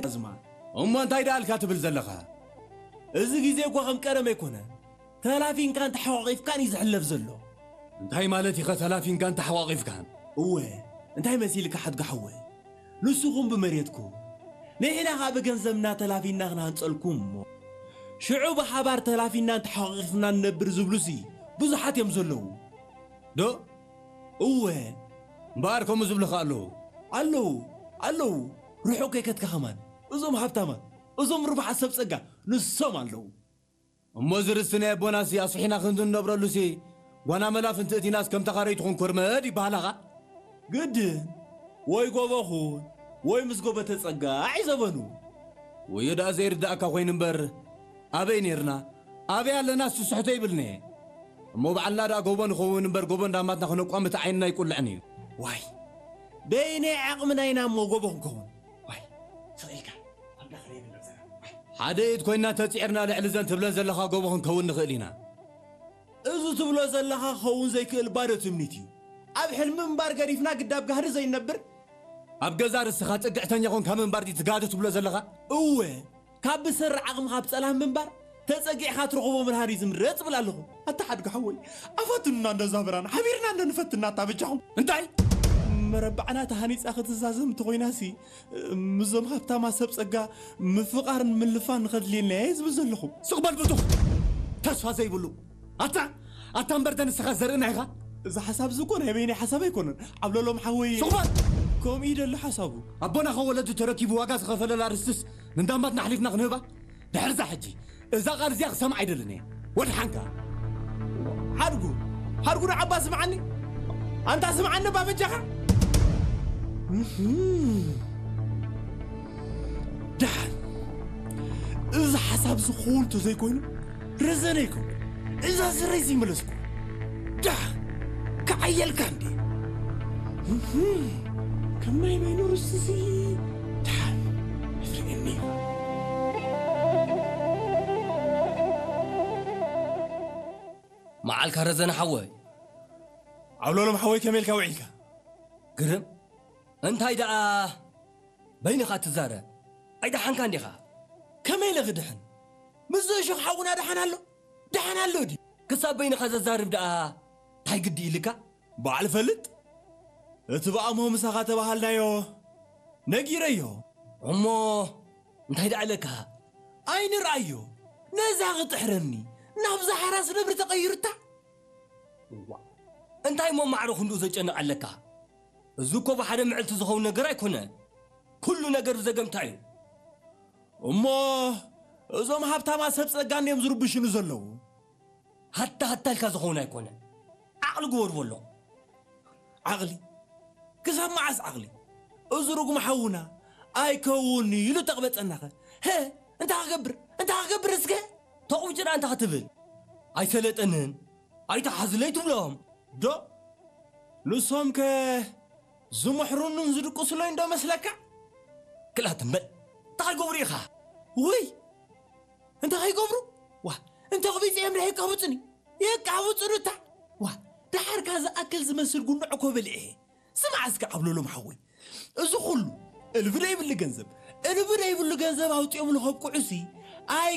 ኣዝማ። እሞ እንታይ ደኣልካ ትብል ዘለኻ? እዚ ግዜ እኮ ከም ቀደም ኣይኮነን። ተላፊንካን ተሓቋቒፍካን እዩ ዝሕለፍ ዘሎ። እንታይ ማለት ኢኸ ተላፊንካን ተሓቋቒፍካን? እወ፣ እንታይ መሲልካ ሓድጋ ሓወይ? ንስኹም ብመሬትኩም፣ ንሕና ኸኣ ብገንዘብና ተላፊንና ክንሃንጸልኩም እሞ፣ ሽዑ ብሓባር ተላፊንናን ተሓቋቒፍናን ንነብር ዝብሉሲ ብዙሓት እዮም ዘለዉ። ዶ? እወ። እምበኣር ከምኡ ዝብሉኻ ኣለዉ። ኣለዉ፣ ኣለዉ። ርሑቕ ከይከድካ ኸማን። እዞም ሃብታማት፣ እዞም ርቡሓት ሰብ ጸጋ፣ ንሶም ኣለዉ። እሞ እዚ ርስቲ ናይ ኣቦናሲ ኣስፊሕና ክንዲ ንነብረሉሲ ጓና መላፍንቲ እቲናስ ከም ተኻረይቱ ክንኮርመድ ይበሃላኻ? ግድን ወይ ጎቦ ኹን ወይ ምስ ጎቦ ተጸጋዕ እዩ ዘበኑ። ወዮ ደኣ ዘይርዳእካ ኮይኑ እምበር ኣበይ ኔርና ኣበይ ኣለና እሱ ስሕቶ ይብልኒ። እሞ ባዕልና ደኣ ጎቦ ንኸውን እምበር ጎቦ እንዳማትና ክነቋምት ዓይንና ይቁልዕን እዩ። ዋይ በይነይ ዓቕምና ኢና እሞ ጎቦ ክንከውን። ዋይ ስቕ ኢልካ ኣብዳ ክረይ ንብረዘና። ሓደ ኢድ ኮይና ተጺዕርና ልዕሊ ዘን ትብለን ዘለኻ ጎቦ ክንከውን ንኽእል ኢና። እዚ ትብሎ ዘለኻ ክኸውን ዘይክእል ባዶ ትምኒት እዩ። ኣብ ሕልሚ ምንባር ገዲፍና ግዳብ ጋህዲ ዘይንነብር። ኣብ ገዛ ርስኻ ጽግዕተኛ ኾንካ ምንባር ድዩ ትጋዶ ትብሎ ዘለኻ? እወ፣ ካብ ብሰሪ ዓቕምኻ ኣብ ጸላም ምንባር ተጸጊዕካ ትረኽቦ ምድሃር እዩ ዝምረጽ እብል ኣለኹ። ኣታ ሓድጋ ሓወይ፣ ኣፋትኑና እንዶ ዛብራን ሓቢርና እንዶ ንፈትና ኣታ በጃኹም። እንታይ? መረባዕና ተሃኒጻ ክትዛዘም እንተኾይናሲ ምስዞም ሃብታማ ሰብ ጸጋ ምፍቓርን ምልፋን ንኸድልየና እየ ዝብል ዘለኹ። ስቕ በል ብቱኽ! ተስፋ ዘይብሉ! ኣታ! ኣታ እምበር ደንስኻ ዘርእና ኢኻ! እዚ ሓሳብ እዚ እኮ ናይ በይነይ ሓሳብ ኣይኮነን። ዓብለሎም ሓወይ ስቕ በል! ከምኡ እዩ ደሎ ሓሳቡ። ኣቦና ኸ ወለዱ ተረኪቡ ዋጋ ዝኸፈለላ ርስትስ ንዳምባትና ኣሕሊፍና ክንህባ? ድሕርዛ ሕጂ እዛ ቃል እዚኣ ክሰምዓ ኣይደልን እየ። ወድሓንካ። ሓድጉ፣ ሓድጉ ንዓባ ስምዓኒ። ኣንታ ስምዓኒ ባበጃኻ። እህም። ደሓን። እዚ ሓሳብ ዝኸውን ተዘይኮይኑ፣ ረዘነ ይከውን። እዛ ስረይ ዘይመለስኩ። ደሓን። ክዓየልካ እንዴ? እህም። ከም ናይ በይኑ ርስሲ። ደሓን። እትርእየኒ ኢኻ። መዓልካ ረዘነ ሓወይ። ዓብሎሎም ሓወይ ከመይ ኢልካ ውዒልካ? ግርም። እንታይ ደኣ በይንኻ ትዛረብ? ኣይደሓንካ እንዲኻ? ከመይ ኢለ ክድሕን? ምስ እሾኽ ሓውና ደሓን ኣሎ? ደሓን ኣሎ ድዩ? ክሳብ በይንኻ ዘዛርብ ደኣ ታይ ግዲ ኢልካ? በዓል ፈልጥ፣ እቲ ብኣሞ ምሳኻ ተባሃልናዮ ነጊረዮ። እሞ እንታይ ደኣ ኢለካ? ኣይንርኣዮ፣ ነዛ ክጥሕረኒ፣ ናብዛ ሓራስ ነብሪ ተቐይሩታ። እዋ፣ እንታይ እሞ ማዕረ ክንድኡ ዘጨንቕ ኣለካ? እዚ እኮ ብሓደ ምዕልቲ ዝኸውን ነገር ኣይኮነ። ኩሉ ነገር ብዘገምታ እዩ። እሞ እዞም ሃብታማ ሰብ ጸጋ እንድዮም ዝርብሹኒ ዘለዉ። ሃታ ሃታ ኢልካ ዝኸውን ኣይኮነ። ዓቕሊ ግበር በሎ። ዓቕሊ? ክሳብ መዓስ ዓቕሊ? እዚ ርጉም ሓውና ኣይከውን ኢሉ ተቕበጸናኸ። ሀ፣ እንታይ ክገብር? እንታይ ክገብር እስከ? ተቑብጭ ደኣ እንታይ ክትብል? ኣይሰለጠንን፣ ኣይተሓዝለይ ትብሎም። ዶ? ንሶም ከ ዝምሕሩንን ዝድቅሱለይ እንዶ መስለካ? ክላት እምበል፣ እንታይ ክገብሩ ኢኻ? ውይ! እንታይ ከይገብሩ? ዋ፣ እንተ ክቢጽ እዮም ደኣ የቃብጹኒ። የቃብጹኒ እታ። ዋ፣ ደሓርካ ዝኣክል ዝመስል ጉንዕ እኮ በሊዐ። ስማዕ እስከ ዓብሎሎም ሓወይ። እዚ ኩሉ እልቢ ደይብሉ ገንዘብ፣ እልቢ ደይብሉ ገንዘብ ኣውጺኦምሉ ከብቅዑሲ ኣይ